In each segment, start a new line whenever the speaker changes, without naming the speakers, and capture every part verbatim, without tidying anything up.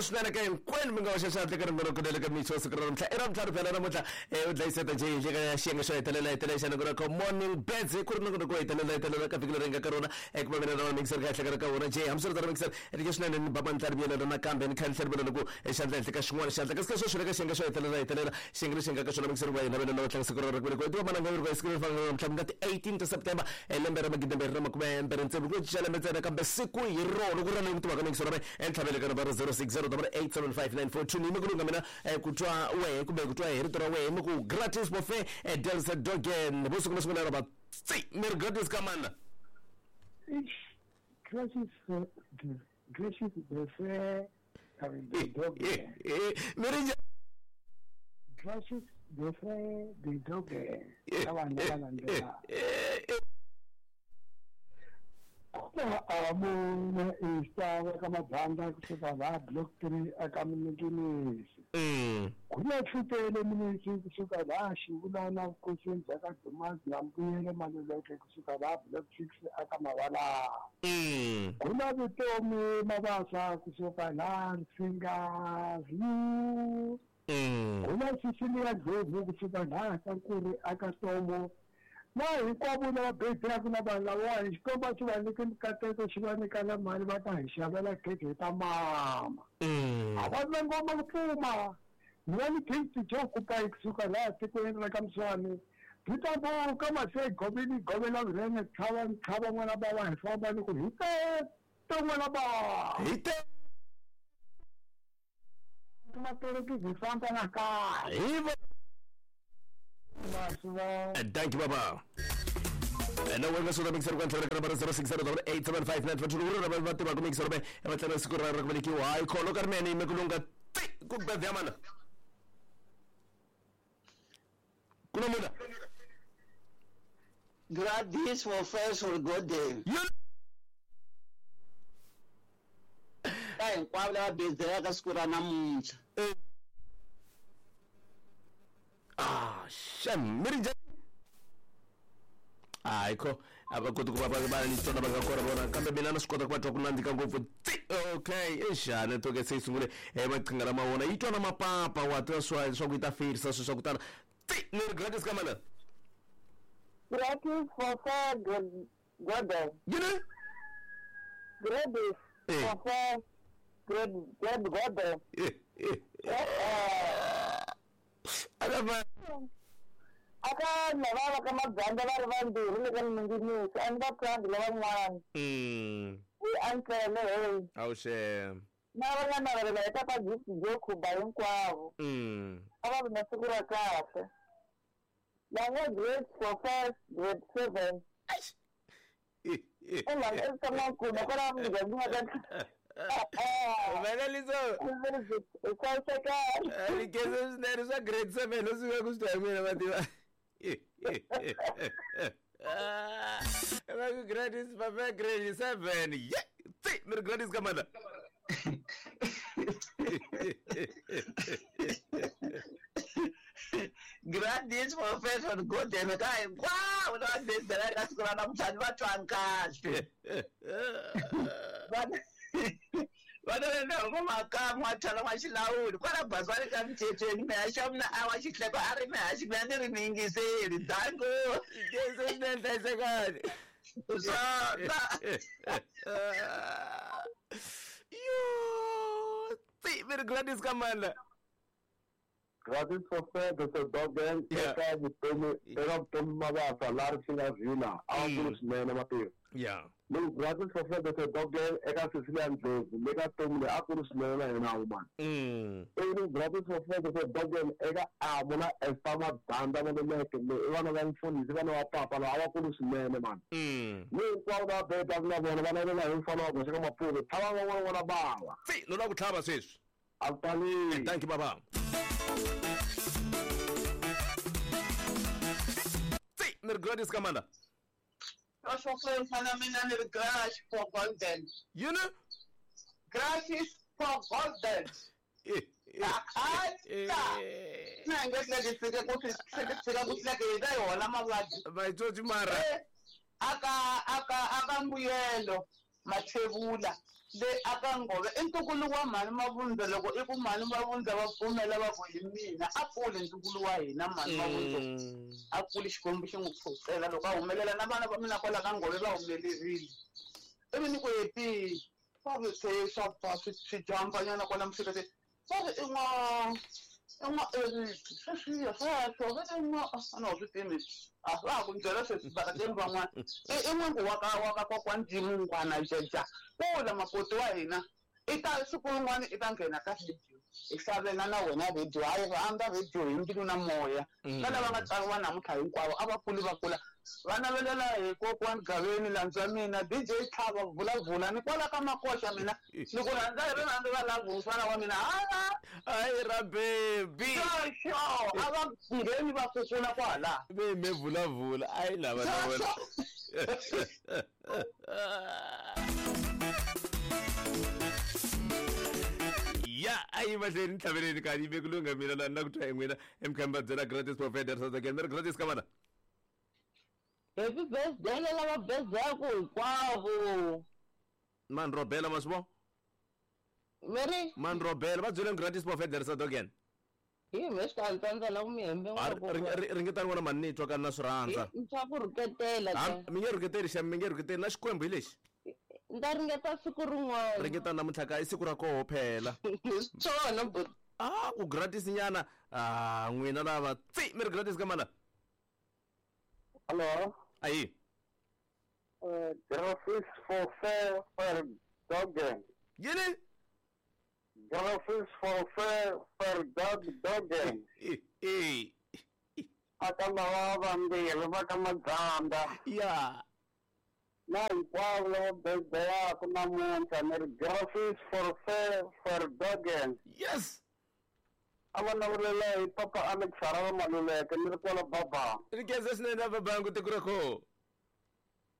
Swinene ka hinkwenu mi nga hoxa xandla ka rin'wana ku ka mixo siku ra namuntlha i ra ntlhanu phela namuntlha u dlayiseta njhe hi ka xiyenge xo hetelela hetelela xa nongonoko ka morning beds ku ri nongonoko wo hetelela hetelela ka vhiki leri nga ka rona ku va mina na va mixer ka henhla ka wona njhe hambiswiritano mixer ri swinene ni baba ni tlari vuyelela nakambe ni kha ni tlhela vula ku xandla henhla ka xin'wana xandla kasi ka sweswi le ka xiyenge xo hetelela hetelela xiyenge lexi nga ka xona mixer wa hina vena lava tlanga siku ra ra ku velekiwa tiva mananga ri siku leri fanaka namuntlha ku nga ti eighteen ta September lembe ra magidi mbirhi ra makume mbirhi tsevu ku cinca lembe ntsena kambe siku hi rona ku ri leyi ku tivaka mixer ra entlhavele ka nambara zero six zero double eight seven five nine four two ni ku lunga mina ku twa wehe kumbe ku twa hi rito ra wehe mi ku gratis buffet Delsa Dogen vo siku na sungula ra va tsi mi ri gratis ka mana
gratis gratis buffet Dogen
mi ri
gratis buffet the Dogen ka vanhu lava landzelaka Amuna istava ka mabanda kusuka la block three aka Minginisi. Kuna tlhutele minisi kusuka la Xivulana vukosini bya ka Dumazi na Mbuyelo Maluleke kusuka la block six aka Mavala. Kuna Vutomi Mabasa kusuka la Nsinga View. Kuna Cecilia Ndlovu kusuka la Kankuri aka Tomo. Na hinkwavo lava bethaka na vanhu lavawa xikomba xi va nyike mikateko xi va nyika na mali va ta hi xavela khekhe hi ta mama a va na ngoma ku pfuma ni va ni gift jo kupa kusuka laha tikweni ra ka Mswani byi ta buka mase goveni govela vurhene tlhava ntlhava n'wana bava hi famba ni ku hi te n'wana bava
hi te
matereki hi famba na kahle
hi Thank you, Baba. And now we're going to mix it up zero six zero eight seven five nine four two. We're going to mix it up. And we're going to I call Carmen Mekulunga. Good bed, Yamana. Kulamuna.
Gratis for first for good day. Hinkwavo bezela ka siku ra namuntlha.
Ah, shem, mi ri njhani? Hayi kho a va koti ku va va va ni tsona va nga kona vona kambe mina na swi kota ku va twa ku nandzika ngopfu tsi okay exa network se yi sungule eh maqhinga lama wona yi twa na mapapa wa tiva swa swa ku yi ta feyirisa swilo swa ku tala tsi ni ri gratis ka mana
gratis for four Gordon
yini
gratis for four Gordon Gordon
Aka
aka lava va ka mabanda va ri vambirhi le ka Minginisi a ni va twangi lavan'wana
mm
i antlele hey
awuxe
na va nga navelela hi tata Gift jo Khuba hinkwavo
mm
a va ri na siku ra kahle lava grade four five grade seven i tshama nkuna kwala muganga wa ka
Humeleliso Likeze swinene swa grade seven u suka ku swi twa hi mina va tiva va ku grade papa grade seven ye tsi mi ri gratis ka mana
Gratis for first for good day ka hinkwavo lava bezela ka siku ra namuntlha ni va twangi kahle vana va makamu wa thala wa xilawuli kwala bazi wa le ka mthethweni mehaxa mina a wa xihleko a ri mehaxi mina ni ri mi yingiseli dango
kese swinene hlayisekani
swona
yo tsi mi ri gratis ka mana
Gratis for fair the Dogen eka vutomi eka vutomi Mabasa la ri xi vhila a ku ri swinene mativa
yeah
no gratis for fair the Dogen eka Cecilia Ndlovu le ka Tomi a ku ri swinene na yena wumana
mm
i gratis for fair the Dogen eka Amo na Esther Mabanda Maluleke le i vana va mfundhisi vana va papa lava a va ku ri swinene mani
mm
ni hinkwavo va beta na vona va navela hi mfana wa goxa ka Mapuve tlhava van'wana n'wana bawa
tsi no lava ku tlhava sweswi
a ku tali
thank you baba tsi mi ri gratis ka mana
Osho mfana mina ni ri gratis for golden
yini
gratis for golden na nge tleke fike ku fike fika ku tleke hi ta yona mavabyi
vaitsotsi mara
aka aka aka mbuyelo mathebula Le aka Ngove i ntukulu wa mhani Mavundza loko i ku mhani Mavundza va pfumela va ku hi mina a kule ntukulu wa hina mhani Mavundza a kule Xikwembu xi n'wi pfuxela loko a humelela na vana va mina kwala ka Ngove va humelerile ivi ni ku hepi va ri se swa swi swi jampanyana kwala mhlekete va ri i n'wa i n'wa Eric sweswiya sweswo va ri n'wa a na swi tivi a va ha ku byela sweswi vakateni van'wana i n'wangu wa ka wa ka kokwani Jimungwana Jeja kula makoti wa hina i ta siku rin'wana i ta nghena ka radio hi xavela na wena radio hayi rhandza radio hi mbilu na moya na lava nga tsariwa namuntlha hinkwavo a va kuli va kula va navelela hi kokwani Gaveni landza mina D J Tlhava vulavula ni kwala ka Makoxa mina ni ku rhandza hi rirhandzu ra love mfana wa mina hala
hayi ra baby
xo a va ngheni va kukula kwala
ve me vulavula ayi lava na wena ya ayi mahlweni ntlhaveleni kani yi vekulunga mina la na ku twa hi n'wina emkhamba byela gratis provider South Africa mi ri gratis ka vana
happy birthday lava birthday hinkwavo
man robela ma swi vo
meri
man robela va byeleni gratis provider South Africa
hi me swi ta la ku mi hembe
ringetani vona mani ni twa ka na swi rhandza
swa ku rhuketela
mi nge rhuketeli xa mi nge rhuketeli na Xikwembu hi lexi
ni ta ringeta siku rin'wana
ringeta namuntlha ka i siku ra koho phela
swona but
ah ku gratis nyana ah n'wina lava tsi mi ri gratis ka mana
hello
ayi
eh gratis for fair for dog
yini
gratis for fair for dog dog
eh
aka lava vambirhi va ka Madzanda
ya
na hinkwavo lava birthday-aka namuntlha ni ri gratis for fair for dogen
yes
a va navelela hi papa Alex Harava Maluleke ni ri kwala Babangu
ri khensa swinene Babangu tiko ra koho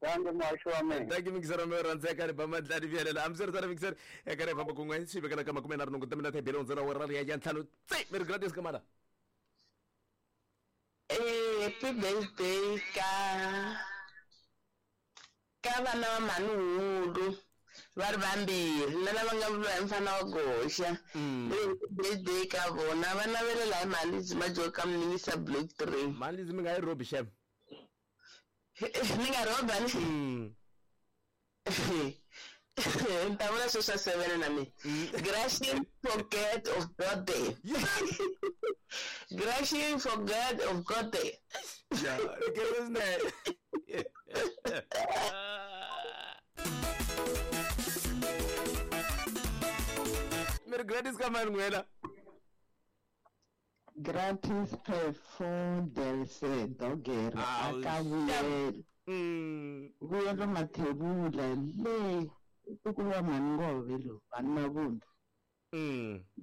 danke muhaxi wa mina
danke mixer mi rhandzeka ri ba madlani vuyelela a mi swi ri tana mixer eka ri famba kun'we swi vekela ka makume nharhu nhungu timina tebele hundzela wa ra ya ya ntlhanu tsi mi ri gratis ka mala
happy birthday ka ka vana va mhani Hulu va ri vambirhi na lava nga vuriwa hi mfana wa goxa birthday ka vona va navelela hi mhani Zima ka Mninisa block three
mhani Lizzy mi nga yi robi xem
ni nga roba ni ni ta vula sweswo swa seven na mina Gracious for God of God day Gracious for God of God day
ya ri mi ri gratis ka mani n'wina
gratis per fondelse doger aka vuyelo vuyelo Mathebula le ntukulu wa mhani Ngove lowu mhani Mavundza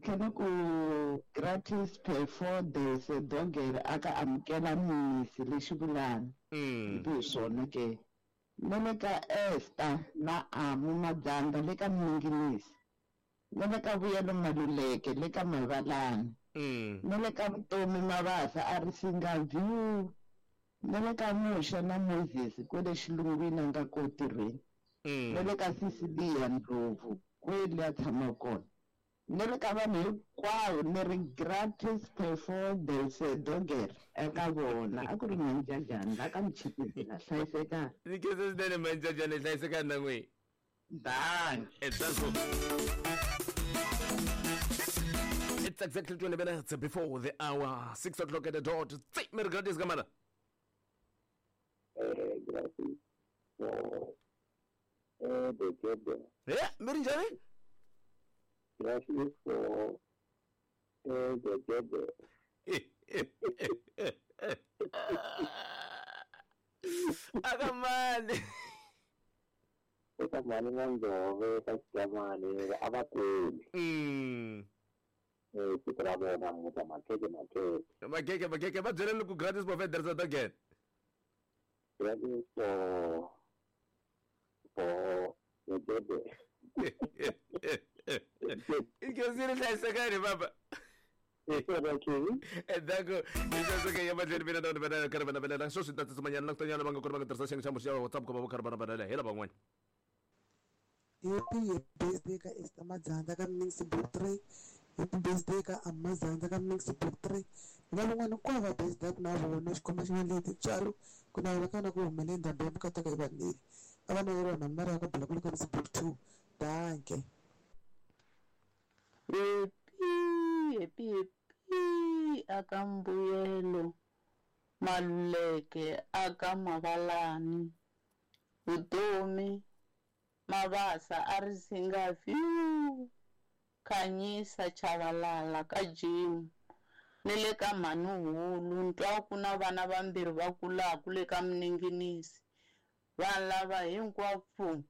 tlhela ku gratis per fondelse doger aka amukela misi lexi vulana hi swona ke na le ka Esther na Amu Madzanda le ka Minginisi na le ka Vuyelo Maluleke le ka Mavalani na le ka Vutomi Mabasa a ri singa view na le ka Muxa na Moses kwele xilungwini a nga ko tirhweni na le ka Cecilia Ndlovu kwele a tshama kona na le ka vanhu hinkwavo ni ri gratis performance doger eka vona a ku ri Manjajani la ka Mchipisi la hlayisekani
ni khensa swinene Manjajani hlayisekani na n'wina
danke
etsanso It's exactly twenty minutes before the hour, six o'clock at the dot. Tsi, mi ri gratis ka mana
eh gratis for eh the
eh mi ri njhani
gratis for eh the
aka mani
eka mhani Mandlove ka Xikamani a va kuli
mm
eh siku ra vona namuntlha makheke makheke
makheke makheke va byeleni ku gratis provider South Africa
gratis for for the
Ikesiri hlayisekani baba endzhaku leswaku ya mahlweni mina na vana karhi va navelela swo swi ta tsutsumanyana na ku tanyana va nga kona va nga tirhisa xiyenge xa muxi ya WhatsApp ku va va karhi va navelela hi lava van'wana
Happy birthday ka Esther Madzandza ka Mnix Block three. Happy birthday ka Amazandza ka Mnix Block three. Hi va van'wana hinkwavo va birthday na vona xikomba xi va leti tswalo ku navela ka na ku humelela ndhambi ya mukataka yi vanile. A va naveriwa mhani Maria ka Bulakulu ka Mnix Block two. Danke.
Happy, happy, happy aka Mbuyelo Maluleke aka Mavalani Vutomi Mabasa a ri singa fiu Khanyisa Chavalala ka Jim ni le ka Mhanuhulu ntwa ku na vana vambirhi va kulaku le ka Mninginisi vanhu lava hinkwavo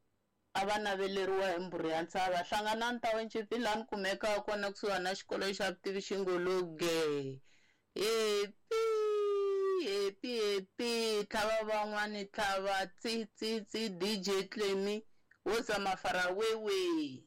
a va naveleriwa hi mbhuri ya ntshava hlanganani township laha ni kumekaka kona kusuhani na xikolo xa vutivi xingologe. Happy happy happy tlhava van'wani tlhava tsi tsi tsi D J Clemy wo zama farawewe.